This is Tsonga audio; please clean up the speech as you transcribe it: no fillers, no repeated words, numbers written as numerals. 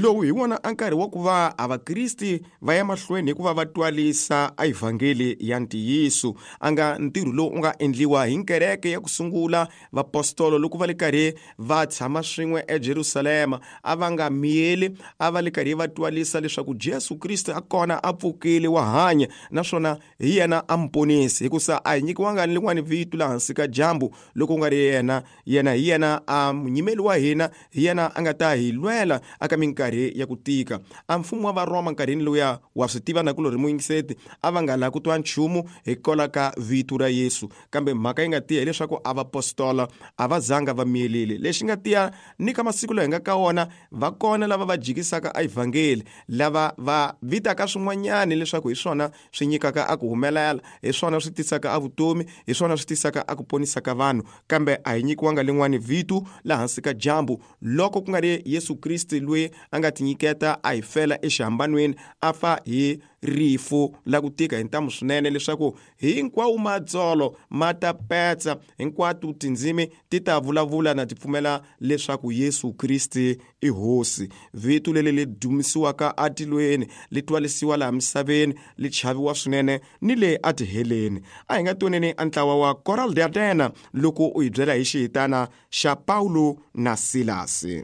Lowu hi wona a nkarhi wa ku va a Vakriste va ya mahlweni hi ku va va twalisa a evhangeli ya ntiyiso, a nga ntirho lowu u nga endliwa hi nkereke ya ku sungula. Vapostolo loko va le karhi va tshama swin'we eJerusalema a va nga miyeli, a va le karhi va twalisa leswaku Jesu Kriste a kona, a pfukile, wa hanya, naswona hi yena a muponisi, hikusa a hi nyikiwanga ni lin'wani vito laha hansi ka dyambu loko ku nga ri yena. Yena hi yena a munyimeli wa hina, hi yena a nga ta hi lwela aka minkarhi ya ku tika. A mfumo wa Varoma nkarhini lowuya, wa swi tiva nakulorhi muyingiseti, a va nga lavi ku twa nchumu hi kola ka vito ra Yesu. Kambe mhaka yi nga tiya hileswaku a vapostola a va zanga va miyelile. Lexi nga tiya ni ka masiku lawa hi nga ka wona, va kona lava va jikisaka a evhangeli, lava va vitaka swin'wanyani leswaku hi swona swi nyikaka a ku humelela, hi swona swi tisaka a vutomi, hi swona swi tisaka a ku ponisa ka vanhu. Kambe a hi nyikiwanga lin'wani vito laha hansi ka dyambu loko ku nga ri Yesu Kriste, loyi a nga tinyiketa a hi fela exihambanweni, a fa hi rifu la ku tika hi ntamu swinene, leswaku hinkwawo matsolo ma ta petsa, hinkwato tindzimi ti ta vulavula na ti pfumela leswaku Yesu Kriste i Hosi. Vito leri li dumisiwaka atilweni, li twalisiwa laha misaveni, li chaviwa swinene ni le atiheleni. A hi nga toneni a ntlawa wa Coral de Atena loko u hi byela hi xihitana xa Paulo na Silasi.